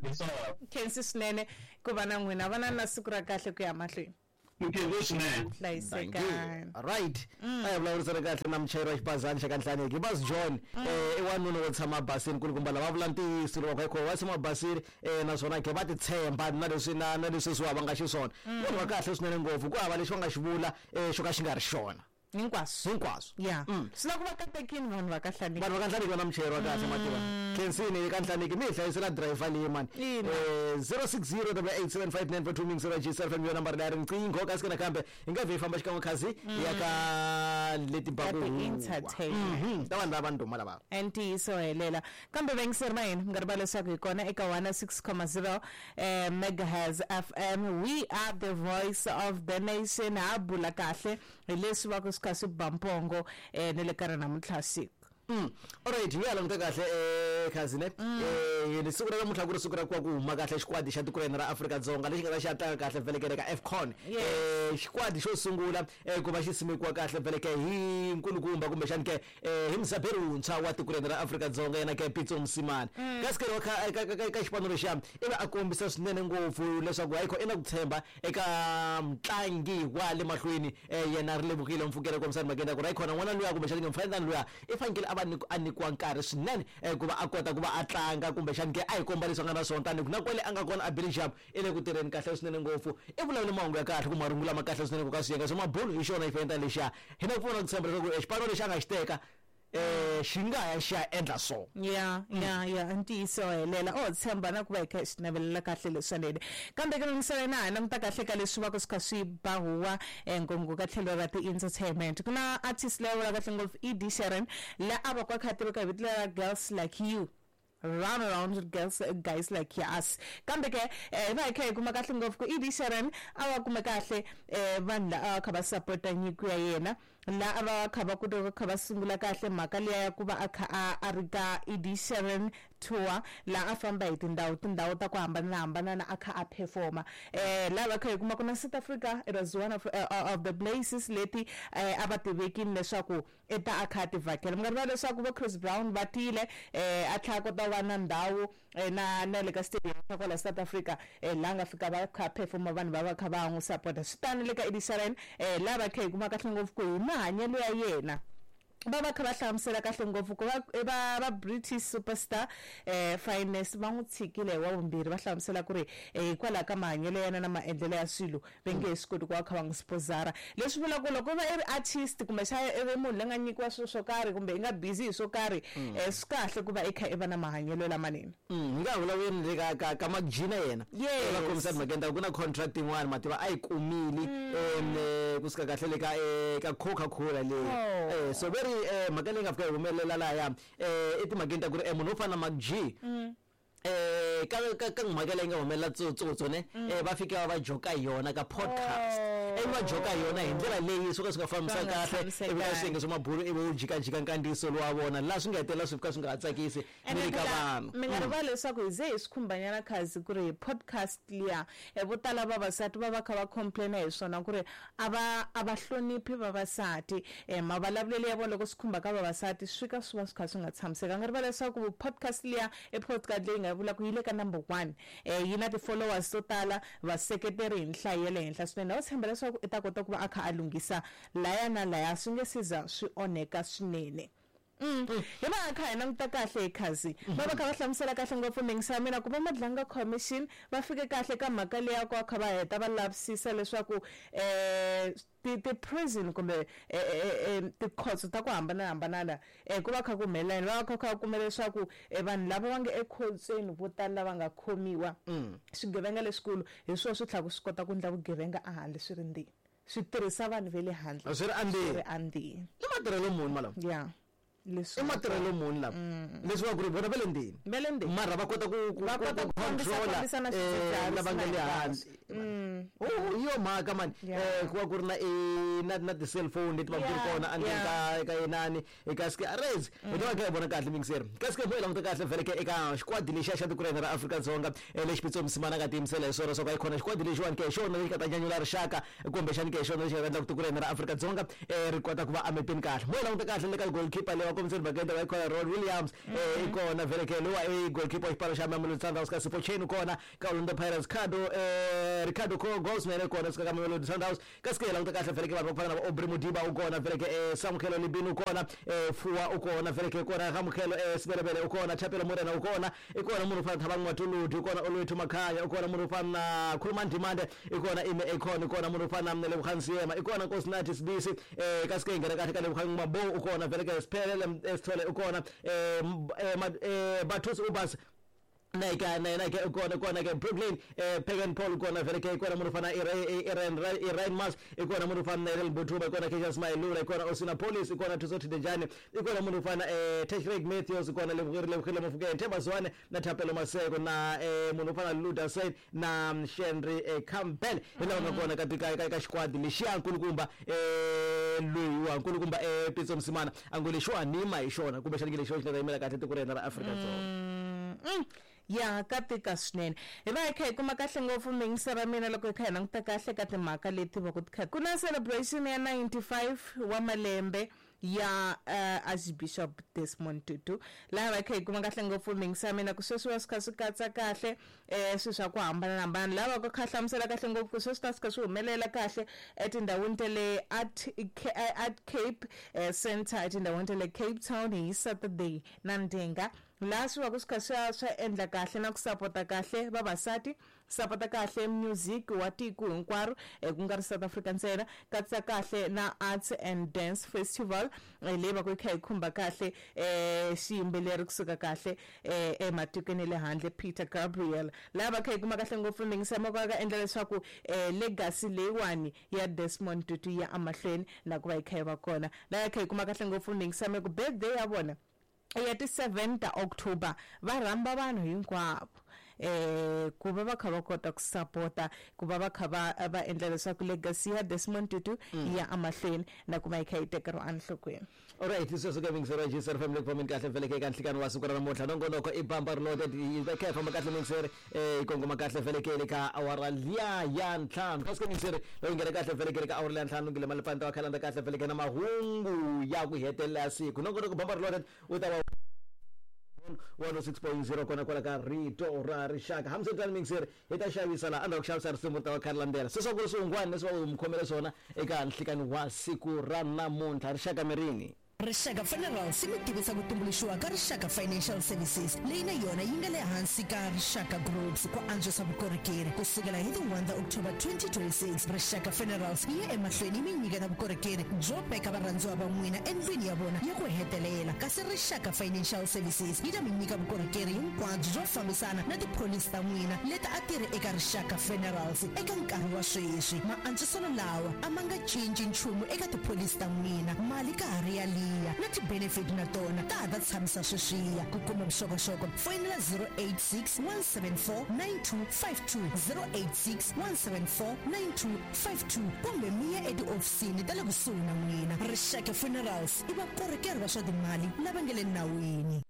Leswaku Khensi swinene ku va na n'wina, va na na siku ra kahle ku ya mahlweni. Nkhensi swinene. Hlayisekani. Right, a hi vulavurisana kahle na muchayeri wa xibazana xa ka Nhlaneki, Bazi John. I wanuna wo tshama basini kulukumba lava vula ntiyiso loko va kha va tshama basini, naswona ke va ti tshemba na leswi na leswi swi va nga xiswona. Munhu wa kahle swinene ngopfu, ku hava lexi va nga xi vula xo ka xi nga ri xona. Hinkwaswo. Hinkwaswo. Ya. Swi lava ku va katekini vanhu va ka Nhlaneki. Vanhu va ka Nhlaneki va na muchayeri wa kahle, mativa. Khensini ka Nhlaneki mi hi hlayisela driver leyi mani. Ina. 060 8875942 mings ra GCR FM, yona nambara leyi ya riqingho. Kasi ke nakambe hi nga vhe hi famba xikan'we khazi ya ka leti Ka baku huwa. ti-entertainment. Ta vanhu lava ndhuma lava. Ntiyiso helela. Kambe vayingiseri va hina, mi nga rivali leswaku hi kona eka 106.0 megahertz FM. We are the voice of the nation. Ha bula kahle hi leswi va ku swi kha swi ba mpongo ni le ka ra namuntlha siku. Alright, hi ya languta kahle khazi ne. Ni siku ra namuntlha ku ri siku ra ku va ku huma kahle xikwadi xa tiko ra hina ra Afrika-Dzonga lexi nga ta xi ya tlanga kahle vhelekele ka AFCON. Xikwadi xo sungula ku va xi simekiwa kahle vheleke hi nkulukumba kumbexani ke hi muzaberi wuntshwa wa tiko ra hina ra Afrika-Dzonga, yena ke Pitso Mosimane. Kasi ke wa ka xipano lexiya i va a kombisa swinene ngopfu leswaku hayikho i na ku tshemba eka mutlangi wa le mahlweni, yena ri lemukile Mfukele, kombisa mhakeni ya ku ri hayikhona n'wana luya kumbexani ke mufana luya i fanekele a va a nyikiwa nkarhi swinene ku va a kota ku va a tlanga kumbexani ke a hi komba leswi a nga na swona, tanihi ku na kwale a nga kona a Belgium i le ku tirheni kahle swinene ngopfu. I vulavule mahungu ya kahle kumbe marungulo lama kahle swinene ku ka swiyenge swa mabulu hi xona xifanyetana lexiya. Hi na ku pfuna ku tshemba leswaku xipano lexi a nga xi teka xi nga ya xi ya endla so. Ya, ya, ya, ntiyiso helela. O tshemba na ku va hi kha hi swi navelela kahle leswanene. Kambe ke mingisela na ha languta kahle ka leswi va ku swi kha swi ba huwa ngopfu ka tlhelo ra ti-entertainment. Ku na artist leyi vulaka kahle ngopfu Ed Sheeran, la a va ku a kha a tiveka hi vito lera Girls Like You. Run around with girls, guys like us. Kambe ke hi va hi kha hi kuma kahle ngopfu ku Ed Sheeran a va kume kahle vanhu la a va kha va support-a nyiko ya yena, la a va kha va kota ku kha va sungula kahle mhaka liya ya ku va a kha a ri ka Ed Sheeran tour, la a famba hi tindhawu ta ku hambanahambana a kha a performa. La va kha hi kuma ku na South Africa, it was one of the places leti a va tivekini leswaku i ta a kha a ti vhakela. Mi nga rivali leswaku vo Chris Brown va tile, a tlhela a kota ku va na ndhawu na na le ka stadium xa kwala South Africa, laha nga fika va kha perform-a vanhu va va kha va n'wi support-a. Swi tano le ka Ed Sheeran, laha va kha hi kuma kahle ngopfu ku hi mahanyelo ya yena va va kha va hlamusela kahle ngopfu ku va British superstar Finesse va n'wi tshikile hi wa vumbirhi, va hlamusela ku ri hikwalaho ka mahanyelo ya yena na maendlelo ya swilo va nge he swi koti ku va kha va n'wi sponsor-a. Leswi vulaka ku loko u va i ri artist kumbexana i ri munhu loyi nga nyikiwa swilo swo karhi kumbe i nga busy hi swo karhi, swi kahle ku va i kha i va na mahanyelo lamanene. Hi nga ha vulavuli le ka Mark G na yena. Yes. Va kombisa timhakeni ta ku na contract yin'wana mativa a yi kumile, kusuka kahle le ka Coca-Cola leyi. Oh. So ve ri mhaka leyi nga fika yi humelela lahaya, i timhakeni ta ku ri munhu wo fana na Mark G, ka mhaka leyi nga humelela Tsotsotso ne, va fika va joka hi yona ka podcast. Ivi va joka hi yona hi ndlela leyi swo ka swi nga fambisani Swi nga kahle, ivi ka tshamisekanga. swiyenge swa mabulu ivi wu jikajika nkandziyiso lowu wa vona, laha swi nga hetelela swi fika swi nga ha tsakisi Ene ni le ka phela, vanhu. mi nga rivali leswaku hi ze hi swi khumbanyana khazi ku ri podcast liya, vo tala vavasati va va kha va complain-a hi swona ku ri a va hloniphi vavasati. Mavulavulelo ya vona loko swi khumba ka vavasati swi fika swi va swi kha swi nga tshamisekanga. Nga rivali leswaku podcast liya i podcast leyi nga vula ku yi le ka number 1, yi na ti-followers to tala, vaseketeri hi nhlayo ya le henhla swinene. Va tshemba leswaku i ta kota ku va a kha a lunghisa laya na laya, swi nge se za swi onheka swinene. Hi va kha hi languta kahle hi khazi, va va kha va hlamusela kahle ngopfu mingisa ya mina ku va Madlanga Commission va fike kahle ka mhaka leyi ya ku va kha va heta va lavisisa leswaku ti-prison kumbe tikhotso ta ku hambanahambana ku va kha ku humelela yini. Va va kha kha va kuma leswaku vanhu lava va nga ekhotsweni vo tala lava nga khomiwa swigevenga leswikulu hi swona swi tlhela swi kota ku endla vugevenga ehandle swi ri ndzeni, swi tirhisa vanhu va le handle Swi ri andzeni. Swi ri andzeni. I matirhelo muni malama? Ya. Leswi I matirhelo muni lama? Leswi va ku ri vona va le ndzeni. Va le ndzeni. Mara va kota Va ku kota ku control-a, fambisa na swidzidziharisi lava nga na le hinkwaswo. handle. internet man. Oh, hi yo mhaka mani. Ku va ku ri na na ti-cellphone leti va ku ri kona endzeni ka ka inani eka ske arez hi ta va kha hi vona kahle mingiseri kasi ke hi languta kahle vhele ke eka xikwadi lexiya xa tiko ra hina ra Afrika-Dzonga lexi Pitso Mosimane a nga tiyimisela hi swona swa ku a yi khona xikwadi lexiwani ke hi xona lexi nga ta nyanyula rixaka kumbexani ke hi xona lexi nga ta endla ku tiko ra hina ra Afrika-Dzonga ri kota ku va emepeni kahle. Mo hi languta kahle le ka goalkeeper leyi va kombiseni mhaka va yi khona Ron Williams i kona vhele ke lowa i goalkeeper wa xipano xa Mamelodi Sundowns ka Sipho Chaine u kona ka Orlando Pirates Ricardo Ricardo Goldman i kona suka ka Mamelodi Sundowns. Kasi ke hi languta kahle vhele ke vanhu va ku fana na va Aubrey Modiba u kona vhele ke Samukelo Libini u kona Fuwa u kona vhele ke kona Ramukelo Sebelebele u kona Thapelo Morena u kona i kona munhu wo fana na Thabang Matuludi u kona Olwethu Makhanya u kona munhu wo fana na Khulumani Ndimande i kona Ime Akon i kona munhu wo fana na Lebogang Seema i kona Nkosinathi Sibisi kasi ke hi nghena kahle ka Lebogang Mabou u kona vhele ke Siphelele Sithole u kona Bathusi Ubas na eka na yena ke u kona kona ke Brooklyn Pagan Paul u kona vhele ke i kona munhu wo fana Iran Iran Mas i kona munhu wo fana na Irel Mbuthuma i kona Cassius Mailula i kona Osina Police i kona Thuso Thidejane i kona munhu wo fana Tashreeq Matthews i kona Lebohile Mofokeng Themba Zwane na Thapelo Maseko na munhu wo fana Luda Said na Shenry Campbell hi lava nga kona ka ka ka ka xikwadi lexiya nkulukumba loyiwa nkulukumba Pitso Mosimane a ngo lexiwa nima hi xona kumbexana ke lexiwa xi nga ta yimela kahle tiko ra hina ra Afrika-Dzonga. Ya ka tika swinene. Hi va hi kha hi kuma kahle ngopfu miyingisa ra mina loko hi kha hi languta kahle ka timhaka leti va ku ti kha ku na celebration ya 95 wa malembe ya Archbishop Desmond Tutu laha va kha hi kuma kahle ngopfu miyingisa ya mina ku sweswi va swi kha swi katsa kahle swilo swa ku hambanahambana laha va ku kha hlamusela kahle ngopfu ku sweswi ta swi kha swi humelela kahle etindhawini ta le Art Cape Center etindhawini ta le Cape Town hi Saturday na Ndhinga laha swi va ku swi kha swa swa endla kahle na ku sapota kahle vavasati sapota kahle music wa tiko hinkwaro ku nga ri South Africa ntsena katsa kahle na Arts and Dance Festival leyi va ku yi kha yi khumba kahle xiyimbeleri kusuka kahle ematikweni ya le handle Peter Gabriel laha va kha yi kuma kahle ngopfu miyingiselo ka endla leswaku legacy leyiwani ya Desmond Tutu ya emahlweni na ku va yi kha yi va kona laha yi kha yi kuma kahle ngopfu miyingiselo ku birthday ya vona ya ti 7 ta October va rhamba vanhu hinkwavo ku va va kha va kota ku sapota ku va va kha va va endla leswaku legacy ya Desmond Tutu ya emahlweni na ku va yi kha yi tekeriwa enhlokweni. Alright, sweswo ke mingiseri wa GCR family ku fambeni kahle vhele ke eka nhlikani wa siku ra namuntlha nongonoko i bamba reloaded yi va kha yi famba kahle mingiseri yi kongoma kahle vhele ke le ka awara liya ya ntlhanu kasi ke mingiseri loko yi nghena kahle vhele ke le ka awara liya ntlhanu ngile malipani ta va kha landza kahle vhele ke na mahungu ya ku hetelela ya siku nongonoko bamba reloaded wu ta va 106.0 kona kwala ka rito ra rixaka hambiswiritano mingiseri hi ta xavisa laha endzhaku ku xavisa risimu ri ta va kha ri landzela se swa ku ri swihungwani leswi va mi khomele swona eka nhlikani wa siku ra namuntlha rixaka mirini. Rixaka Funerals yi mi tivisa ku tumbuluxiwa ka Rixaka Financial Services leyi na yona yi nga le hansi ka Rixaka Groups ku antswisa vukorhokeri. Ku sukela hi ti 1 ta October 2026, Rixaka Funerals yi ya emahlweni yi mi nyiketa vukorhokeri byo veka varhandziwa va n'wina endlwini ya vona ya ku hetelela, kasi Rixaka Financial Services yi ta mi nyika vukorhokeri hinkwabyo byo fambisana na tipholisi ta n'wina leti a ti ri eka Rixaka Funerals eka nkarhi wa sweswi. Maantswiselo lawa a ma nga cinci nchumu eka tipholisi ta n'wina. Mali ka ha ri yaliya na ti-benefit na tona ta ha ta tshamisa sweswiya. Ku kuma vuxokoxoko foyinela 086 174 9252, 086 174 9252 kumbe mi ya etihofisini ta le kusuhi na n'wina. Rixaka Funerals i vakorhokeri va swa timali lava nga le nawini.